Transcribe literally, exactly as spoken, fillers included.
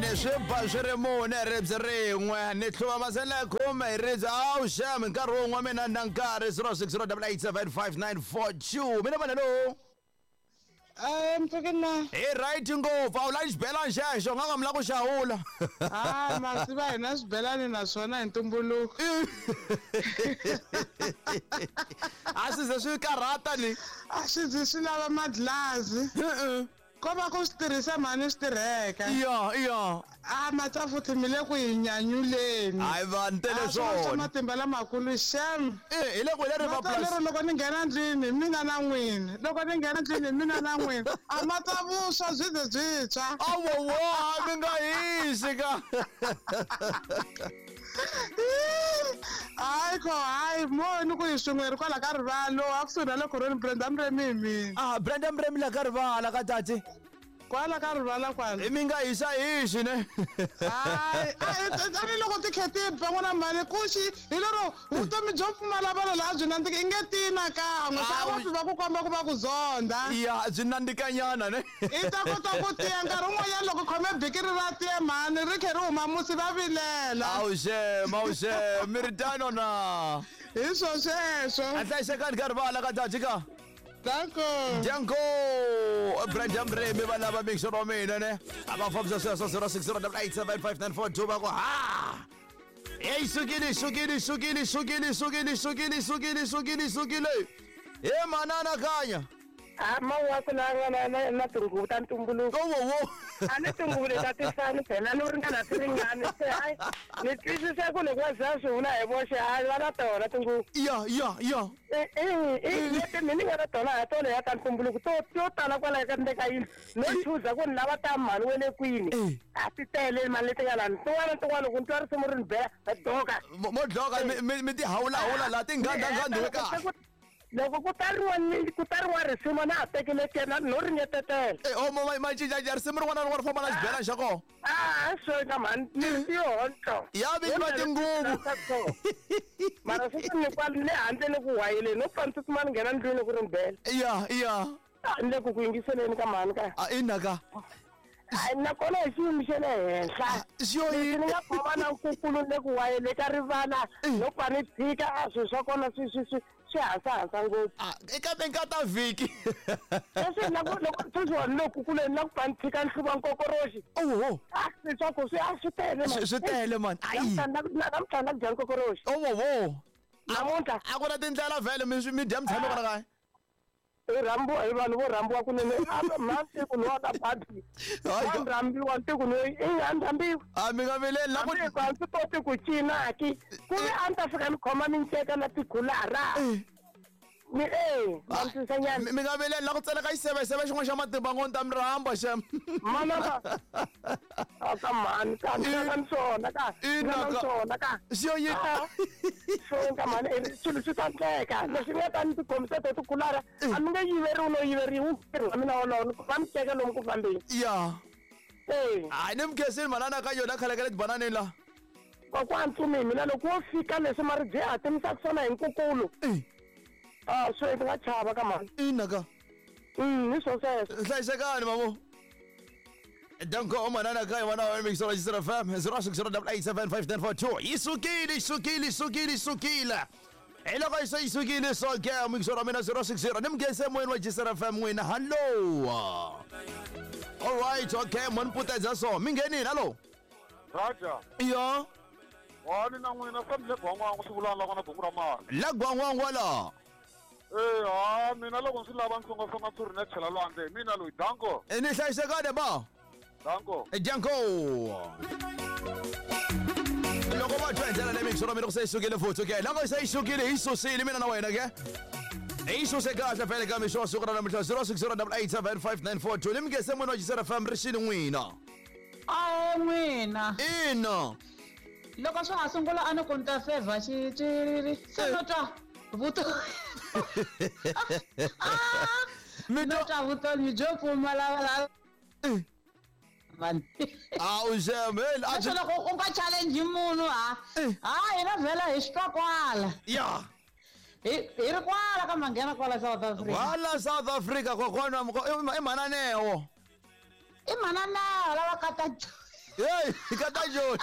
Ni swi ba swi ri mune ribye rin'we ni hluva masele ya khume hi ribye awu xem nkarhi wun'we mina na nkarhi zero six zero double eight seven five nine four two mina vanelo. Eh mpfukeni na. Hi right ngopfu a wu lavi xibelani xexo nga nga mi la ku xawula. Ah masiva hina xibelani naswona hi ntumbuluko. A swi ze swi karhata ni. A swi ze swi lava madlazi. Ko va ku swi tirhisa mhani swi tirheka. Iya iya. A matsafuthi mi le ku hi nyanyuleni. Hayi vanhu tele swona. Matimba lamakulu xem. Eh hi le ku hi le River Plus. Lero loko ni nghena ndlwini mina na n'wini. Loko ni nghena ndlwini mina na n'wini. A matsavuswa byi ze byi tshwa. Awowo mi nga hisi ka. Hayi ko hayi mo ni ku hi swin'we ri kwala ka rivalo a kusuhi na le khorweni Brenda Mremi hi mina. Ah Brenda Mremi la ka rivala ka tati. Kwala ka rivala kwala. Mi nga hisa hisi ne. Hayi a ni loko tikheti ba n'wana mhani ku xi hi lero vutomi byo pfumala vanhu laha byi nandzika i nge tina kan'we swa va swi va ku komba ku va ku zonda. Ya byi nandzikanyana ne. I ta kota ku tiya nkarhi wun'wanyana loko khome bikiri ra tiya mhani ri khe ri huma musi va vilela. Awu xem awu xem mi ri tano na. Hi swo sweswo. A hlayisekani ka rivala ka tati ka. Danko. Danko. Brenda Mremi va lava mixo wa mina ne. A va fambisa sweswo zero six zero double eight seven five nine four two va ku ha. Hey sukile sukile sukile sukile sukile sukile sukile sukile sukile. He manana kanya. A ma wa ku na na na na tinguvu ta ntumbuluko. Wo wo. A ni tinguvu leti ta tifani phela ni ringana ti ringani se hayi ni twisisa ku loko wa za swi vula hi voxe hayi va na tona tinguvu. Ya ya ya. Eh eh leti mina ni nga na tona ha tona ya ta ntumbuluko to to tala kwala ka ndle ka yindlu no chuza ku ni lava ta mhani wa le kwini. A ti tele mali leti nga lani tin'wana tin'wana loko ni twa risimu ri ni bela na doka. Mo dloka mi mi ti hawula hawula la ti nganda nganda kahle. Loko ku tariwa ni ku tariwa risimu na ha tekile kena no ringetetela. Eh o mo ma cinca risimu rin'wana na rin'wana ri famba na xibelani xa kona. Ah swo ka mhani ni tihonto. Ya vi va tinguvu. Mara sweswi ni kwala le handle ni ku wayeleni no pfa ni tsutsuma ni nghena ndlwini ku ri ni bela. Ya ya. Ni le ku ku yingiseleni ka mhani ka. A ina ka. Hayi nakona hi xiyimo xa le henhla. Xo yini? Ni nga khoma na nkukulu le ku wayele ka rivala no pfa ni tshika a swilo swa kona swi swi swi swi hasahasa ngopfu. Ah eka ka vhiki. Sweswi na ku loko sweswi ni ku kuleni na ku pfa ni tshika ni hluva nkokoroxi. Oho. Ah leswaku swi a swi tele mani. Swi tele mani. Ayi. Namuntlha na ku dya nkokoroxi. Oho. Namuntlha. A ku na tindlela vhele mi mi dya mi tshame kwala kaya. I rhambiwa hi vanhu vo rhambiwa kunene a masiku lowa ka babi. Wa rhambiwa tiko loyi i a rhambiwa. A mi nga vileli la ku a ndzi koti ku cina ki ku ve a ni ta fika ni khoma minceka na tikhulara. Ni eh mantisanyana. Mi nga vileli la ku tseleka xiseveseve xin'wana xa matimba ngo ni ta mi rhamba xem. Mana ka. A ka mhani ka ni ka ni swona ka. Ina swona ka. Xo yini? Xo ka mhani swilo swi ta endleka leswi nga ta ni tikhomisa to tikhulara a mi nge yiveriwi no yiveriwi ntirho wa mina wolowo ni va mi teka lomu ku fambeni. Ya. Eh. Hayi ni mi khensile manana ka yona khale ka le tibananeni la. Kokwana Ntsumi mina loko wo fika leswi maribye ya hatimisaka swona hi nkukulu. Ah swi nga chava ka mhani. Ina ka. Mm hi swo sweswo. Hlayisekani mamo. Danko manana ka yona wa mixo la Jisera F M zero six zero double eight seven five nine four two. Isukile isukile isukile isukile. Hi loko yi se yi sukile so ke mixo ra mina zero six zero ni mugese moyeni wa Jisera F M n'wina hello. All right okay mon putedza so mi nghenini hello. Raja. Ya. Wani na n'wina swa le gwangwangu swi vulana la kona gungu ra mali. La gwangwangu la. Eh ha mina loko ndzi lava nsongasonga ntshuri na chela lwandle mina loyi danko. Ni hlayisekani ba. Danko. Danko. Loko va twa hi ndlela leyi mixo ra mina ku se yi sukile futhi okay loko se yi sukile hi susile mina na wena ke. Hi suse kahle vhele ka mixo wa siku ra namuntlha zero six zero double eight seven five nine four two ni mi ngese munhu wa Jisera F M ri xini n'wina. A n'wina. Ina. Loko swa ha sungula a ni ku ni ta fevha xitswiriri se no twa vuto. Mi no twa vutomi byo pfumala la. Man. Awu xem hey a swi loko u nga challenge munhu ha. Ha hina vhela hi swi twa kwala. Ya. Hi hi ri kwala ka manghena kwala South Africa. Kwala South Africa kokwana i mhananewo. I mhananeo lava kata. Hey, ka ta joni.